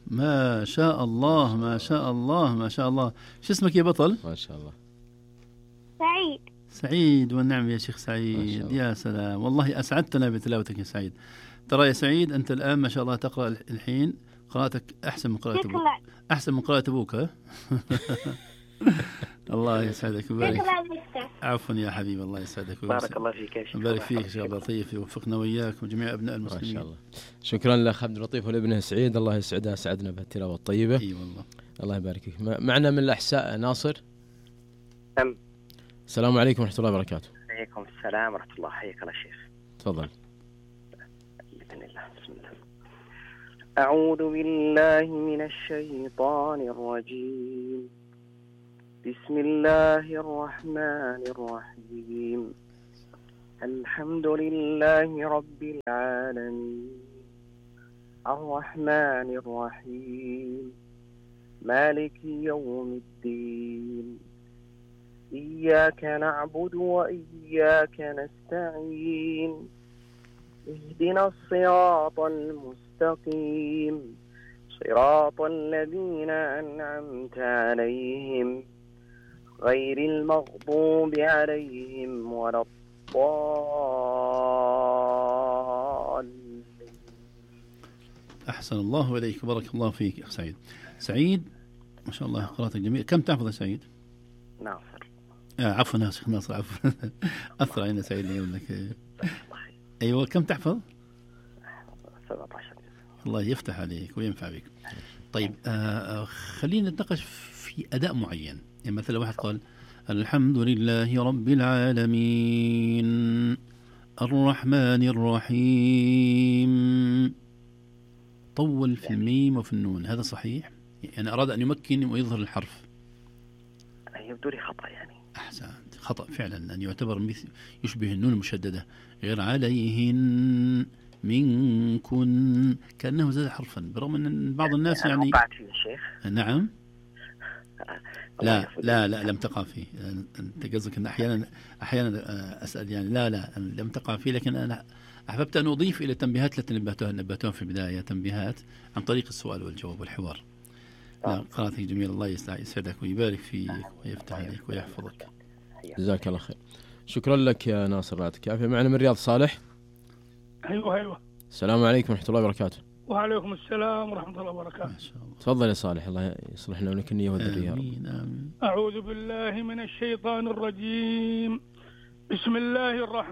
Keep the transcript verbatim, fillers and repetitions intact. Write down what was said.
ما شاء الله ما شاء الله ما شاء الله. شو اسمك يا بطل؟ ما شاء الله. سعيد. سعيد والنعم يا شيخ سعيد، يا سلام والله أسعدتنا بتلاوتك يا سعيد. ترى يا سعيد أنت الآن ما شاء الله تقرأ الحين قراءتك أحسن من قراءة أبوك، أحسن من قراءة أبوك. ها الله يسعدك ويبارك. عفوا يا حبيبي، الله يسعدك ويبارك. بارك الله فيك يا شيخ. بارك فيك شيخ عبد اللطيف، يوفقنا وإياك وجميع أبناء المسلمين. ما شاء الله. شكرا لأخ عبد اللطيف ولابنه سعيد، الله يسعدها، سعدنا بهالتلاوة الطيبة. اي والله. الله يبارك فيك. معنا من الأحساء ناصر. نعم. السلام عليكم ورحمة الله وبركاته. عليكم السلام ورحمة الله، حياك الله شيخ. تفضل. بسم الله. بسم الله. أعوذ بالله من الشيطان الرجيم. بسم الله الرحمن الرحيم. الحمد لله رب العالمين الرحمن الرحيم مالك يوم الدين إياك نعبد وإياك نستعين اهدنا الصراط المستقيم صراط الذين أنعمت عليهم غير المغضوب عليهم ولا الضالين. أحسن الله إليك، بارك الله فيك يا سعيد. سعيد ما شاء الله قراءتك جميلة. كم تحفظ يا سعيد؟ ناصر. آه عفوا ناصر ناصر عفوا أثر علينا سعيد يقول لك. أيوة كم تحفظ؟ سبعة عشر. الله يفتح عليك وينفع بك. طيب آه خلينا نتناقش في أداء معين. يعني مثلا واحد قال الحمد لله رب العالمين الرحمن الرحيم، طول في الميم وفي النون، هذا صحيح؟ يعني أراد أن يمكن ويظهر الحرف. يبدو لي خطأ يعني. أحسن، خطأ فعلا، أن يعتبر مثل يشبه النون المشددة غير عليهن منكن، كأنه زاد حرفا، برغم أن بعض الناس يعني وقعت فيه الشيخ. نعم. لا لا لا لم تقع فيه. أنت قصدك أن أحيانا أحيانا أسأل يعني لا لا لم تقع فيه، لكن أنا أحببت أن أضيف إلى التنبيهات التي نبهتها نبهتها في البداية، تنبيهات عن طريق السؤال والجواب والحوار. لا قراءتك جميلة، الله يسعدك ويبارك فيك ويفتح عليك ويحفظك. جزاك الله خير. شكرا لك يا ناصر، يعطيك العافية. معنا من رياض صالح. أيوة أيوة. السلام عليكم ورحمة الله وبركاته. وعليكم السلام ورحمة الله وبركاته. ما شاء الله. تفضل يا صالح، الله يصلح لنا ولك النية والذرية. آمين آمين. أعوذ بالله من الشيطان الرجيم. بسم الله الرحمن